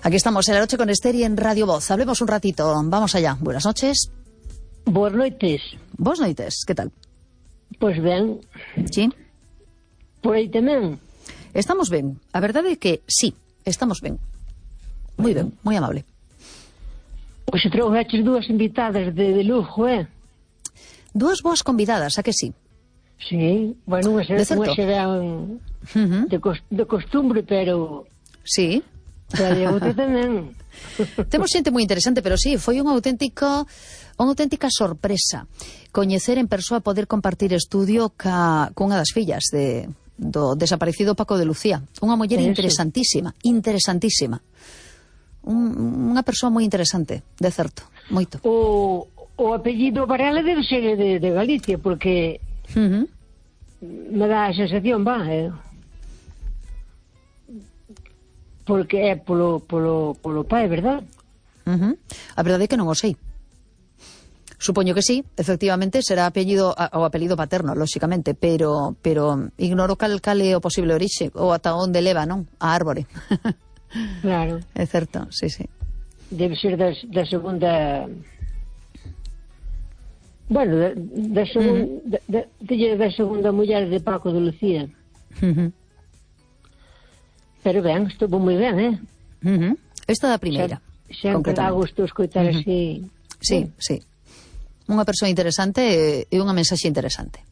Aquí estamos en la noche con Esther y en Radio Voz. Hablemos un ratito. Vamos allá. Buenas noches. Boas noites. Boas noites. ¿Qué tal? Pois ben. Sí? Por aí tamén. Estamos ben. A verdade é que sí, estamos ben. Moi ben, moi amable. Pois se trouxeches dúas invitadas de lujo, Dúas boas convidadas, a que sí? Sí, bueno, unha serán de costumbre, pero... Sí. Pero a outra tamén. Temos xente moi interesante, pero sí, foi unha auténtica sorpresa coñecer en persoa, poder compartir estudio cunha das fillas do desaparecido Paco de Lucía. Unha muller interesantísima. Unha persoa moi interesante, de certo, moito. O apellido Varela debe ser de Galicia, porque me dá a sensación, porque é polo pai, verdad? A verdade é que non o sei. Supoño que sí, efectivamente será o apelido paterno, lóxicamente, pero ignoro cal é o posible orixe ou ata onde leva, non? A árbore. Claro. É certo, sí. Debe ser da segunda... Bueno, da segunda muller de Paco de Lucía. Pero ben, estuvo moi ben, Esta da primeira. Sempre dá gusto escoitar así. Sí. Unha persoa interesante e unha mensaxe interesante.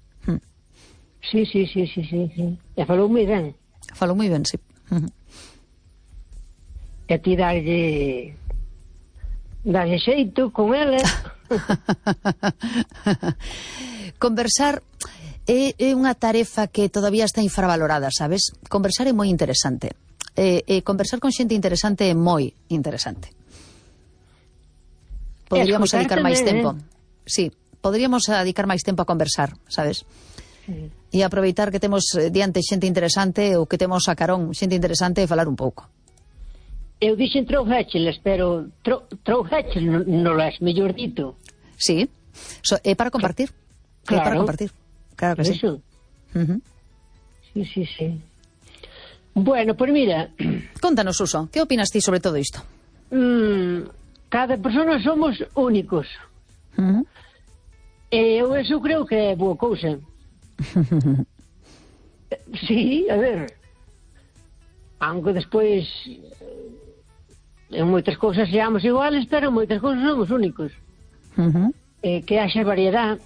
Sí. E falou moi ben. Falou moi ben, sí. E ti darlle xeito con ela. Conversar é unha tarefa que todavía está infravalorada, sabes? Conversar é moi interesante. Conversar con xente interesante é moi interesante. Poderíamos dedicar máis tempo. Sí, poderíamos dedicar máis tempo a conversar, sabes? E aproveitar que temos diante xente interesante ou que temos a carón xente interesante e falar un pouco. Eu dixen trouxécheles, pero trouxécheles non é mellor dito. Sí, é para compartir. Claro. É para compartir. Claro que sí. Sí. Bueno, pues mira... Contanos, Suso, que opinas ti sobre todo isto? Cada persona somos únicos. E eu eso creo que é boa cousa. Sí, a ver... Aunque despois... En moitas cousas seamos iguales, pero en moitas cousas somos únicos. Que haxa variedade.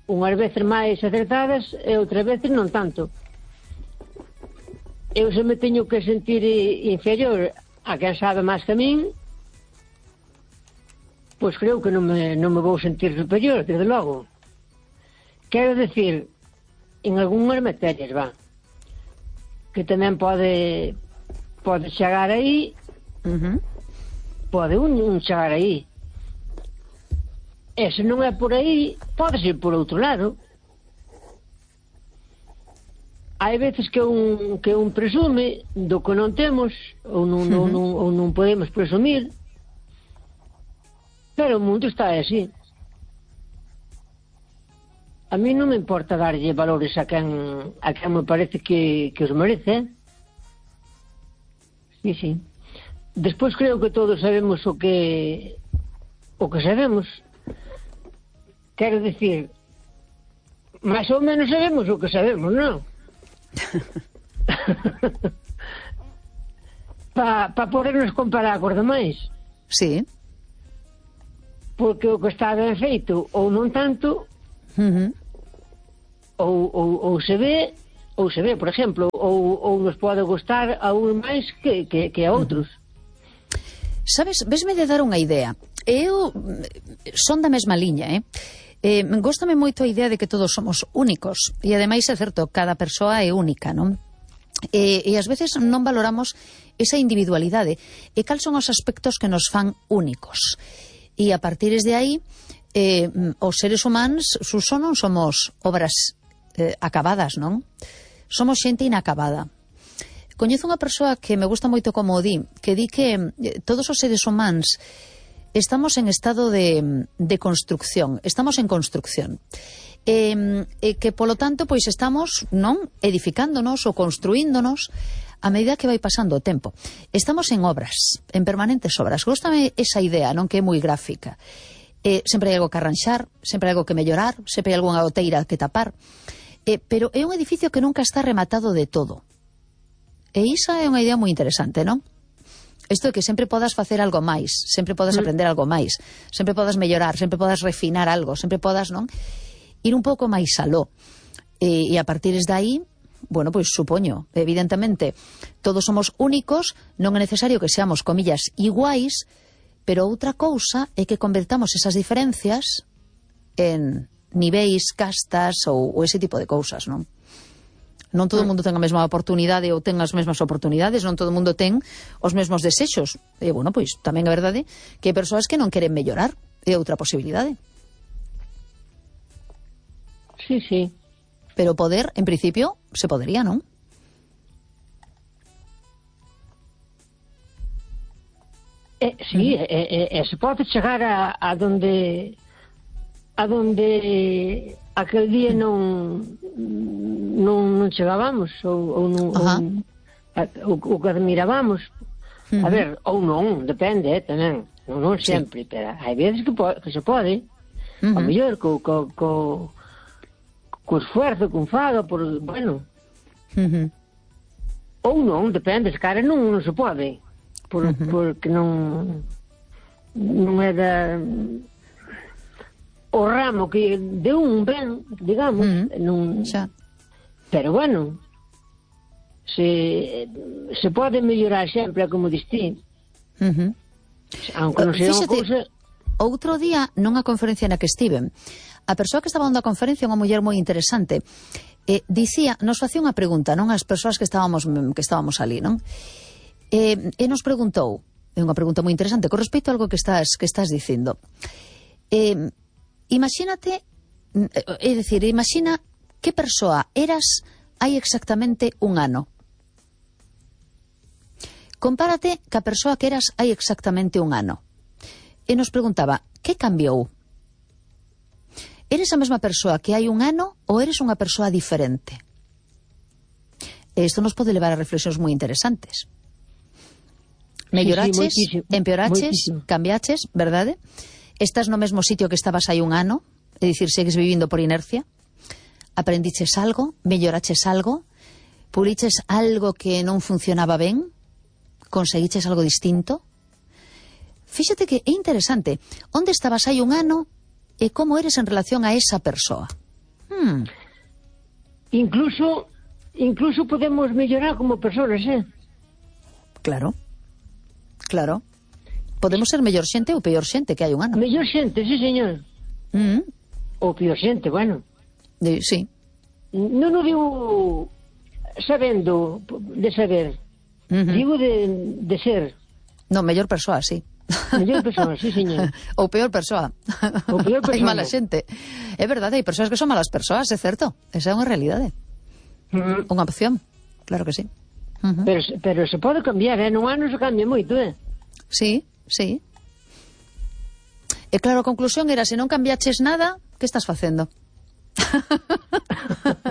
Unhas veces máis acertadas e outras veces non tanto. Eu se me teño que sentir inferior a quen sabe máis que a min, pois creo que non me vou sentir superior, desde logo. Quero decir, en algunhas materias, que tamén pode chegar aí, pode un chegar aí. E se non é por aí, pode ser por outro lado. Hai veces que un presume do que non temos ou non podemos presumir, pero o mundo está así. A mí non me importa darlle valores a quen me parece que os merece. Sí. Despois creo que todos sabemos o que sabemos. Quero dicir, máis ou menos sabemos o que sabemos, non? Para podernos comparar cos demais. Sí. Porque o que está ben feito ou non tanto, ou se ve, por exemplo, ou nos pode gustar a un máis que a outros. Sabes, vesme de dar unha idea. Eu son da mesma liña, góstame moito a idea de que todos somos únicos, e ademais é certo, cada persoa é única, non? E ás veces non valoramos esa individualidade e cal son os aspectos que nos fan únicos. E a partir de aí, os seres humanos, Suso, non somos obras acabadas, non? Somos xente inacabada. Coñezo unha persoa que me gusta moito como di, que di que todos os seres humanos estamos en estado de construcción, estamos en construcción. Que, polo tanto, pois estamos, non, edificándonos ou construíndonos a medida que vai pasando o tempo. Estamos en obras, en permanentes obras. Góstame esa idea, non, que é moi gráfica. Sempre hai algo que arranxar, sempre hai algo que mellorar, sempre hai algunha goteira que tapar. Pero é un edificio que nunca está rematado de todo. E iso é unha idea moi interesante, non? Isto de que sempre podas facer algo máis, sempre podas aprender algo máis, sempre podas mellorar, sempre podas refinar algo, sempre podas, non, ir un pouco máis aló. E a partir de aí, bueno, pois supoño, evidentemente, todos somos únicos, non é necesario que seamos, comillas, iguais, pero outra cousa é que convertamos esas diferencias en niveis, castas ou ese tipo de cousas, non? Non todo o mundo ten a mesma oportunidade ou ten as mesmas oportunidades, non todo o mundo ten os mesmos desexos. E, bueno, pois, tamén é verdade que hai persoas que non queren mellorar. É outra posibilidade. Sí, sí. Pero poder, en principio, se podería, non? Sí, se pode chegar a donde aquel día non chegábamos ou non o que admirábamos. A ver, ou non, depende, tamén. Non sempre, pero hai veces que se pode. A mellor co esfuerzo, con faga, por, bueno. Ou non, depende, se cara non se pode. Porque non é da o ramo que de un ben, digamos, non, pero bueno, se pode mellorar sempre, como distí, aunque non sea unha cousa. Outro día, nunha conferencia na que estiven, a persoa que estaba dando a conferencia, unha muller moi interesante, dicía, nos facía unha pregunta, non, as persoas que estábamos ali, non? E nos preguntou, é unha pregunta moi interesante, con respecto a algo que estás dicindo. Imagínate, é dicir, imagina que persoa eras hai exactamente un ano. Compárate ca persoa que eras hai exactamente un ano. E nos preguntaba, que cambiou? Eres a mesma persoa que hai un ano ou eres unha persoa diferente? E isto nos pode levar a reflexións moi interesantes. Melloraches, empeoraches, cambiaches, verdade? Estás no mesmo sitio que estabas hai un ano, é dicir, segues vivindo por inercia. Aprendiches algo, melloraches algo, puliches algo que non funcionaba ben, conseguiches algo distinto. Fíxate que é interesante, onde estabas hai un ano e como eres en relación a esa persoa. Incluso podemos mellorar como persoas, Claro. Podemos ser mellor xente ou peor xente que hai un ano. Mellor xente, sí, señor. Ou peor xente, bueno. Sí. Non o digo sabendo, de saber. Digo de ser. Non, mellor persoa, sí. Mellor persoa, sí, señor. Ou peor persoa. Ou peor persoa. Hai mala xente. É verdade, hai persoas que son malas persoas, é certo. Esa é unha realidade. Unha opción, claro que sí. Pero se pode cambiar, nun ano se cambia moito, Sí. E claro, a conclusión era, se non cambiaches nada, que estás facendo?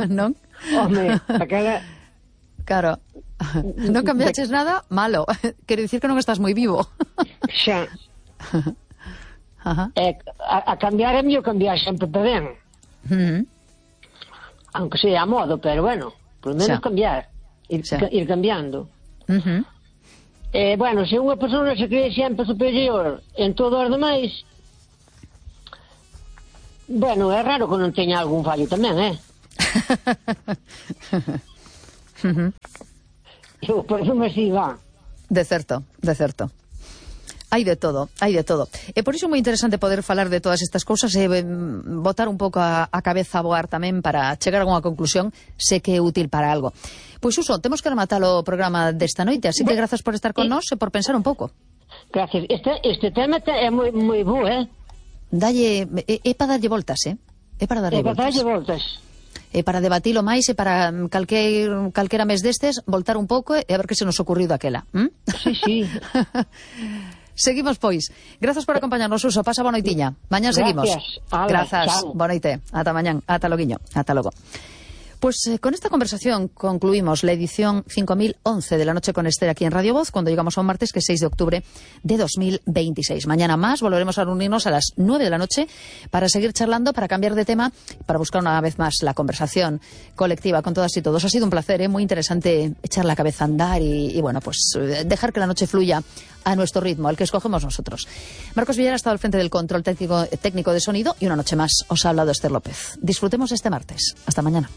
Non? Home, aquela... Claro, non cambiaches nada, malo. Quero dicir que non estás moi vivo. Xa. A cambiar é mellor cambiar sempre para ben. Aunque sea a modo, pero bueno, por menos cambiar, ir cambiando. Bueno, se unha persona se cree sempre superior en todo os demais, bueno, é raro que non teña algún fallo tamén, Eu, por eso me así va. De certo. Hai de todo. E por iso é moi interesante poder falar de todas estas cousas e botar un pouco a cabeza a voar tamén para chegar a unha conclusión, se que é útil para algo. Pois Suso, temos que rematar o programa desta noite, así que grazas por estar con nós e por pensar un pouco. Gracias. Este tema é moi bo, Dalle, é para darlle voltas, É para darlle voltas. E para debatilo máis e para calquera mes destes voltar un pouco e a ver que se nos ocurriu daquela. Sí. Seguimos, pois. Grazas por acompañarnos, Suso. Pasa boa noitiña. Mañán seguimos. Grazas. Boa noite. Ata mañán. Ata loguiño. Ata logo. Pues con esta conversación concluimos la edición 5011 de La Noche con Esther aquí en Radio Voz, cuando llegamos a un martes que es 6 de octubre de 2026. Mañana más volveremos a reunirnos a las 9 de la noche para seguir charlando, para cambiar de tema, para buscar una vez más la conversación colectiva con todas y todos. Ha sido un placer, muy interesante echar la cabeza a andar y bueno, pues dejar que la noche fluya a nuestro ritmo, al que escogemos nosotros. Marcos Villar ha estado al frente del control técnico de sonido y una noche más os ha hablado Esther López. Disfrutemos este martes. Hasta mañana.